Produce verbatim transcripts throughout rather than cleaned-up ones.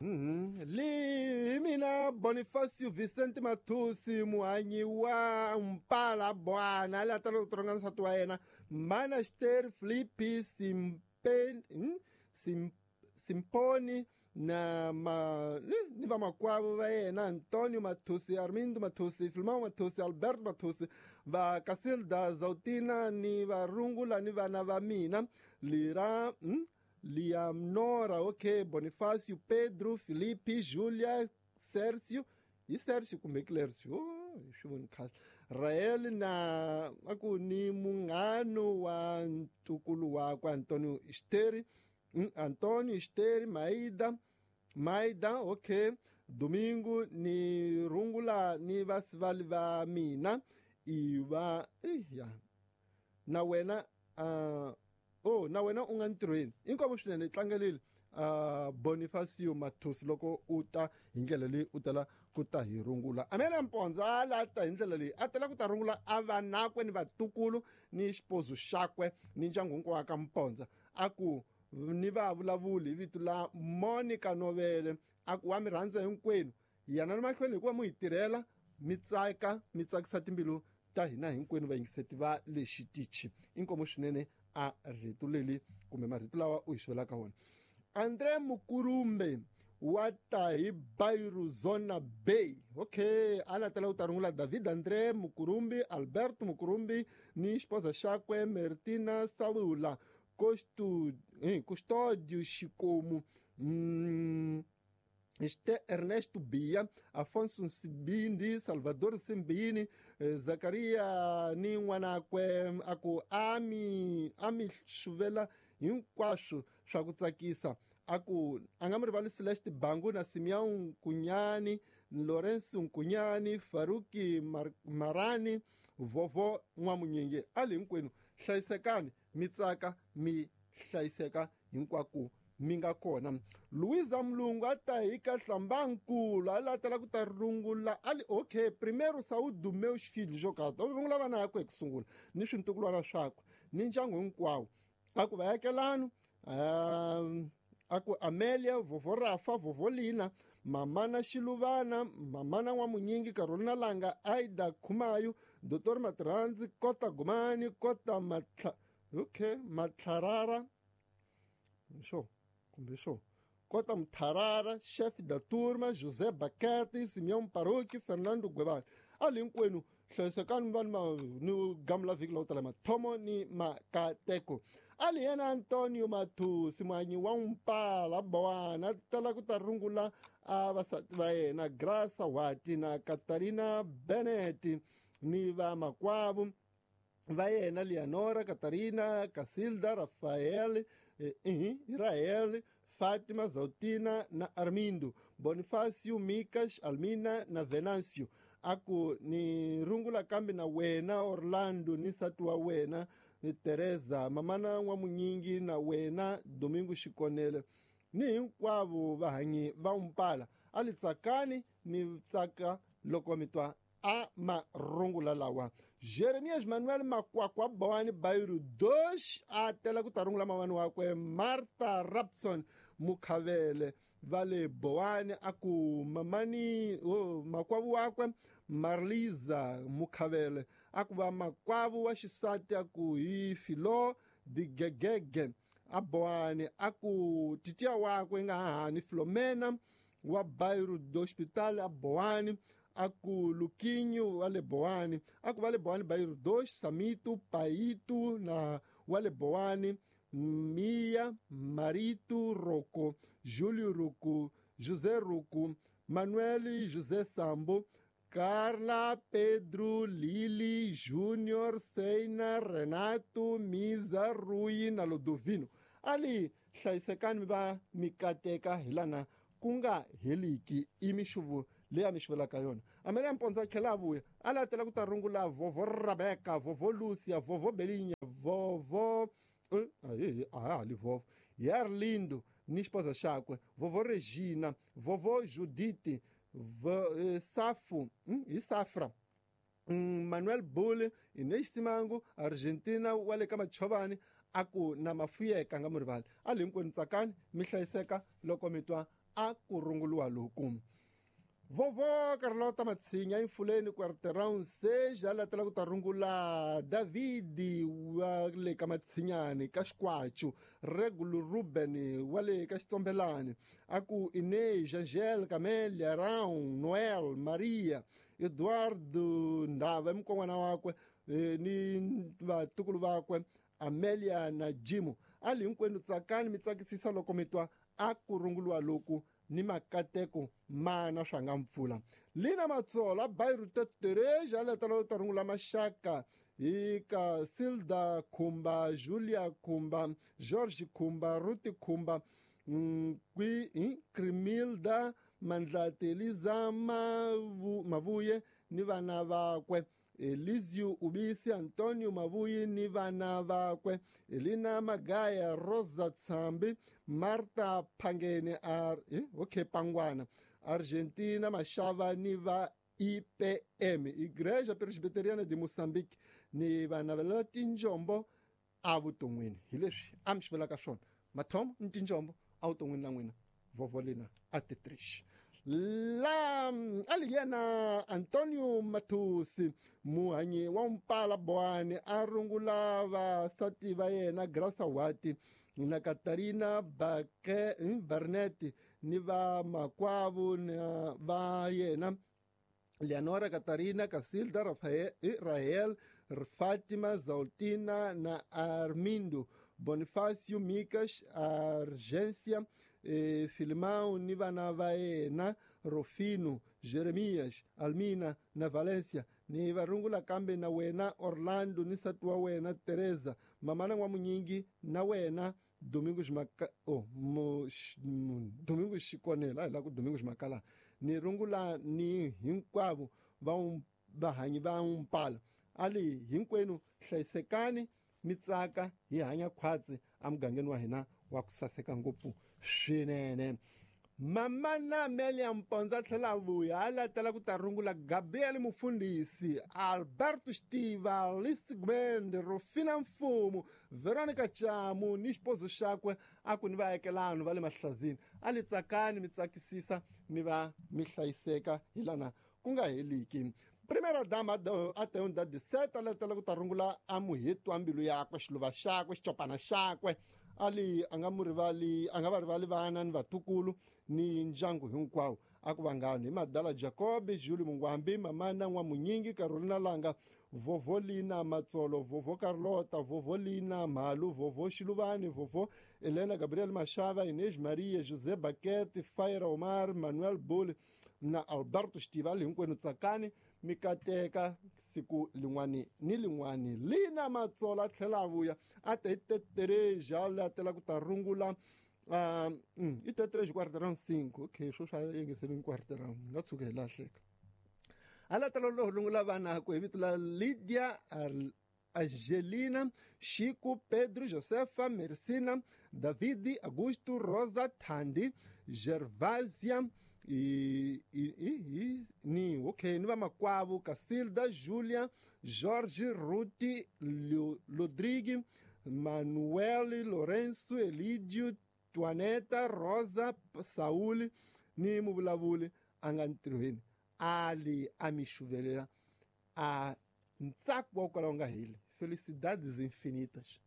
Li mina Bonifacio Vicente Mathusi muhanyi wa Mpala Bwana la tala ku tronga nsati wa yena Mana Ster Flippy Simpen Sim Simponi na ma ni va makwavo va yena Antonio Mathusi, Armindo Mathusi, Filmão Mathusi, Alberto Mathusi, va Casilda Zautina ni va rungula ni vana va mina Lira mm, Liamnora, ok, Bonifacio, Pedro, Felipe, Julia, Sergio, e Sergio kumbe Clércio, oh, swi voni kahle. Rael na aku ni munghano wa ntukulu wakwe Antonio Esteri, Antonio Esteri, Maida, Maida, ok, Domingo ni rungula ni vasivali va mina iva ya na wena uh, oh na wena u nga ntirhweni inkomo swinene tlangelile uh, Bonifacio Mathusi loko u ta hi ndlela leyi u tala ku ta hi rungula. Amela Mpondza a la ta hi ndlela leyi a tala ku ta rungula a vanakwe ni vatukulu ni xipozo xakwe ni ndyangu hinkwawo ka Mpondza a ku ni va vulavuli hi vito la Monica Novele a ku wa mi rhandza hinkwenu yana na mahlweni hikuva mu hi tirhela mi tsaka mi tsakisa timbilu ta hina hinkwenu vayingiseti va le xitichi. Inkomo swinene a rito leli kumbe marito lawa u hi xavelaka wona. André Mukurumbe wa ta hi Bairuzona Bay, okay, a latela u ta rungula David André Mukurumbi, Alberto Mukurumbi ni xipoza xakwe Mertina Saula Costu, eh, Custódio Xikomu, mm, este Ernesto Bia, Afonso Nsibindi, Salvador Simbini, eh, Zakaria ni n'wanakwe a ku ami ami xuvela hinkwaswo swa ku tsakisa a ku a nga mi rivali Celeste Bangu na Simeão Nkunyani, Lorenzo Nkunyani, Faruki Mar Marani, Vovo N'wamunyenge. A le hinkwenu hlayisekani mi tsaka mi hlayiseka hinkwako mi nga kona. Luisa Mlungu a ta hi ka Hlambankulu a latela ku ta rungula ali okay primeiro saúde do meus filhos jokata u rungula vana yakwe hi ku sungula ni swintukulwana swakwe ni ndyangu hinkwawo a ku vayakelano um, a ku Amelia, Vovo Rafa, Vovo Lina, Mamana Xiluvana, Mamana N'wamunyingi, Carolina Langa, Aida Khumayo, Doctor Matirhandzi, Kota Gumani, Kota Matla okay Matlarara sure kumbe sure Kota Mtharara, chefe da turma, José Baquete, Simeão Paroque, Fernando Guevara. Ali hinkwenu hlayisekani vanhu ma ni gamula vhiki lowu tala mathomo ni makateko. Ali yena Antonio Mathusi muhanyi wa Mpala Bowana tala ku ta rungula a vasati va yena Graça Wati na Catarina Bennett ni va makwavo va yena Leonora, Catarina, Casilda, Rafael, eh, Israel, Fátima, Zautina na Armindo, Bonifacio, Micas, Almina na Venancio. Aku ni rungula kambe na wena Orlando ni nsati wa wena ni Teresa, mamana N'wamunyingi na wena Domingo Xikonele ni hinkwavo vahanyi va Mpala. A li tsakani mi tsaka loko mi twa a marungula lawa. Jeremias Manuel Makwakwa Bawani Bairu Dosh a tela ku ta rungula mavani wakwe Martha Rapson Mukhavele va le Bowani a ku mamani oh, makwavu wakwe Marliza Mukhavele a ku va makwavu wa xisati a ku hi Filo Digegege a Bowani a ku titiya wakwe nga hahani Filomena wa Bairu do Hospital a Bowani a ku Luquinho wa le Bowani a ku va le Bowani Bairu dos Samito Paito na wa le Bowani Mia Marito Rocco Júlio Rocco José Rocco Manuel José Sambo Carla Pedro Lili Júnior Seina Renato Misa Rui na Ludovino. Ali hlayisekani mi va mi kateka hi lana ku nga heliki i mixuvo leyi a mi xuvelaka yona. Amelia Mpondza a tlhela a vuya a latela ku ta rungula Vovo Rebecca, Vovo Lucia, Vovo Belinya, Vovo a ha li Vovo Yarlindo ni xipoza xakwe Vovo Regina, Vovo Judite, Safo hi Safra, Manuel Bule, Inês Simango, Argentina wa le ka Machovani A ku na mafuyeka nga murivali a li hinkwenu tsakani mi hlayiseka loko mi twa a ku runguluwa loku. Vovo Carlota Matsinya Infuleni quarteirão seja latela ku ta rungula Davidi wa le ka Matsinyani ka Xikwachu, Regulo Ruben wa le ka Xitsombelani, a ku Inês, Angel, Camélia, Rão, Noel, Maria, Eduardo Ndava mukon'wana wakwe ni vatukulu vakwe Amelia na Jimo. A li hinkwenu tsakani mi tsakisisa loko mi twa a ku runguluwa loku ni makateko mana swa nga mpfula. Lina Matsola Bairu Tereja letela ta rungula maxaka hi ka Silda Khumba, Julia Khumba, George Khumba, Ruti Khumba, kwi Crimilda Mandlati, Eliza Mavuye ni vana vakwe, Elizio Ubisi, Antonio Mavuyi ni vana vakwe, Elina Magaya, Rosa Tsambi, Marta Pangene ar eh, okay Pangwana, Argentina Mashava ni va I P M, Igreja Presbiteriana de Moçambique, ni vana va tinjombo avuton'wini. Hi leswi a mi xi vulaka swona mathomo ni tinjombo avuton'wini na n'wina vovolina a titrish. La ali yena Antonio Matusi muhanyi wa Mpala Boane a rungula vasati va yena Graça Wati na Katarina Bake Barnett ni va makwavo na va yena Leonora, Catarina, Casilda, Rafael, Rahel, Fátima, Zaltina na Armindo, Bonifácio, Micas, Argência, eh, Filimão, ni vana va yena Rofino, Jeremias, Almina na Valência, ni varungula kambe na wena Orlando ni nsati wa wena Teresa, mamana wa Munyingi na wena Domingos Maka, oh, mo, sh, Domingos Xikonela, la ku Domingos Makala, ni rungula ni hinkwavo va vahanyi va Mpala. Ali hinkwenu hlayisekani mi tsaka hi hanya khwatsi emugangeni wa hina wa ku saseka ngopfu swinene. Mama na Amelia Mponza tlhela vuya a latela ku ta rungula Gabriel Mufundisi, Alberto Stiva, Alice Gwende, Rufina Mfumo, Veronica Chamu ni xipozo xakwe a ku ni vaakelani va le Mahlazini. A li tsakani mi tsakisisa mi va mi hlayiseka hi lana ku nga heliki. Primeira dama até onde dá de sete, ela ku ta rungula a muheti wa mbilu yakwe, xiluva xakwe, xicopana xakwe. Ali a nga mu rivali, a nga va rivali vana ni vatukulu ni ndyangu hinkwawo. A ku vangani hi Madala Jacob, Julie Mungwambi, Mamana N'wamunyingi, Carolina Langa, Vovolina Matsolo, Vovo Carlota, Vovolina Malu, Vovo Xiluvani, Vovo Helena Gabriel Machava, Inês Maria, José Baquete, Faira Omar, Manuel Bule na Alberto Stivali. Hinkwenu tsakani mi kateka siku lin'wani ni lin'wani. Lina Matsola a tlhela a vuya a te hi tetereja a latela ku ta rungula uh, mm, i tetereja quarteirão cinco. Okay, swo swa yingiseleni quarteirão nga tshuka hi lahleka. A latela lo rungula vanakwe hi vito la Lydia Angelina, Chico, Pedro, Josefa, Mercina, Davidi, Augusto, Rosa, Thandi, Gervasia, e, e, e, ni ok ni vamakwavo Casilda, Julia, Jorge, Ruti, Rodrigue, Manuel, Lourenço, Elidio, Tuaneta, Rosa, Saúl ni muvulavuli a nga ntirhweni ali a mi xuvelela a ntsako wa ku kala wu nga heli. Felicidades infinitas.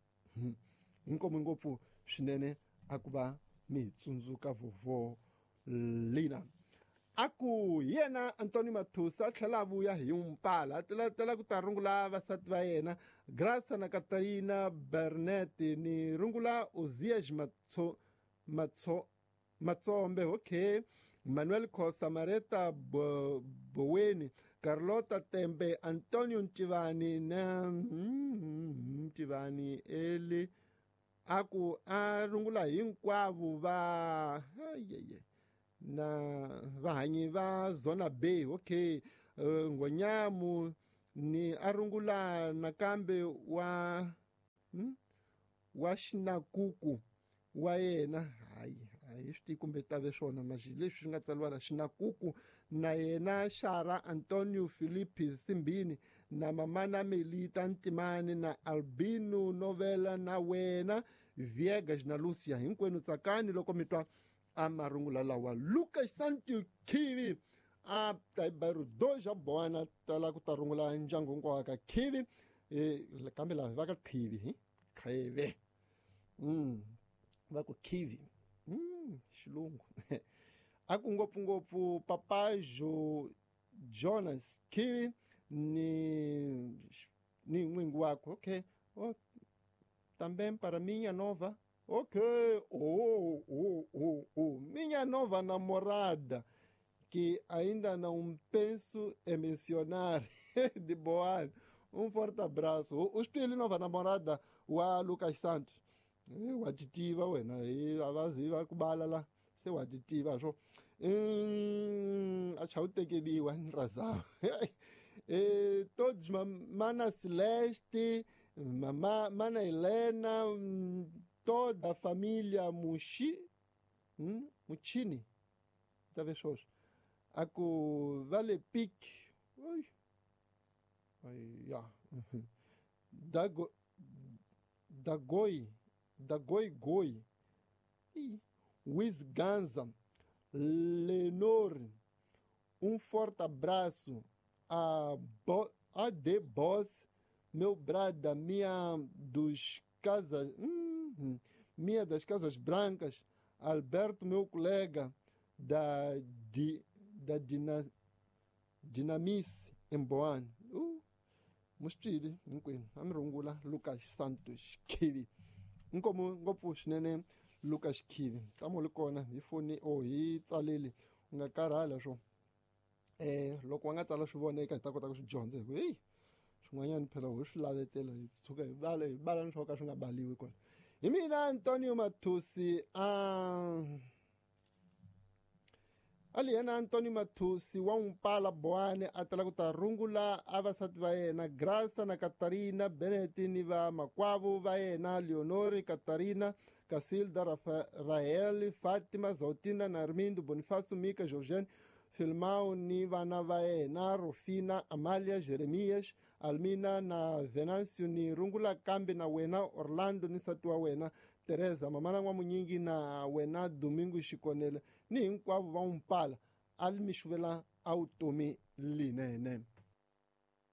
Inkomu ngopfu swinene a ku va mi hi tsundzuka vovo Lina. A ku yena Antonio Mathusa a tlhela a vuya hi Mpala a tela ku ta rungula vasati va yena Graça na Catarina Bernet ni rungula Ozias Matso Matso Matsombe, okay, Manuel Khosa, Mareta Bo, Boweni, Carlota Tembe, Antonio Ntivani na Ntivani Eli. A ku a rungula hinkwavo va ayeye na vahanyi va Zona B, okay, uh, Ngonyamu ni a rungula nakambe wa hmm? wa Xinakuku wa yena. Hayi hi swi tivi kumbe tave swona maxi leswi swi nga tsariwa la Xinakuku na yena Xara Antonio Filipe Simbini na mamana Melita Ntimani na Albino Novela na wena Viegas na Lucia hinkwenu tsakani loko mi twa a marungula lawa. Lucas Santos Khivi a ta bairro dois a Boana tala ku ta rungula ndyangu hinkwawo ka Khivi eh kambe lava va ka Khivi hi Khivi mm va ku Khivi mm xilungu a ku ngopfu ngopfu Papajo Jonas Khivi ni ni n'wingi wakwe. Okay, oh, também para minha nova, ok, oh, oh, oh, oh, minha nova namorada, que ainda não penso em mencionar, de Boa. Um forte abraço. O espelho nova namorada, o Lucas Santos. O aditiva, wena, e a vaziva kubala lá, seu aditiva, só. Hum, acho que te razão. E todos, Mana Celeste, Mama, Mana Helena, toda a família Muxi, hum, Muchini, talvez hoje. Aku Vale Pique, oi, ai, ya, Dago, Dagoi, Dagoi Goi, Wiz Ganza, Lenor, um forte abraço a, Bo, a The Boss, meu brada, minha dos casas, hum, minha das Casas Brancas, Alberto, meu colega da di, da Dina, Dinamice em Boane. Uh, Mustili, hinkwenu amirungula Lucas Santos Khivi. Nkomo ngopfu swinene Lucas Khivi. Tamo li kona hi foni o hi tsaleli u nga karhala swo. Eh loko wa nga tsala swi voneka hi ta kota ku swi dyondza hi ku hey swin'wanyana phela ho swi lavetela hi tshuka hi bala hi bala ni swo ka swi nga baliwi kona. Hi mina Antonio Mathusi a ali yena Antonio Mathusi wa Mpala Boane a tala ku ta rungula a vasati va yena Graça na Catarina Beneti ni va makwavo va yena Leonori Catarina Casilda Rafael Fatima Zautina na Armindo Bonifacio Mika Georgiane Filmao ni vana va yena Rufina Amalia Jeremias Almina na Venancio ni rungula kambe na wena Orlando ni nsati wa wena Teresa mamana n'wamunyingi na wena Domingo Xikonele ni hinkwavo va Mpala a mi xuvela a vutomi linene.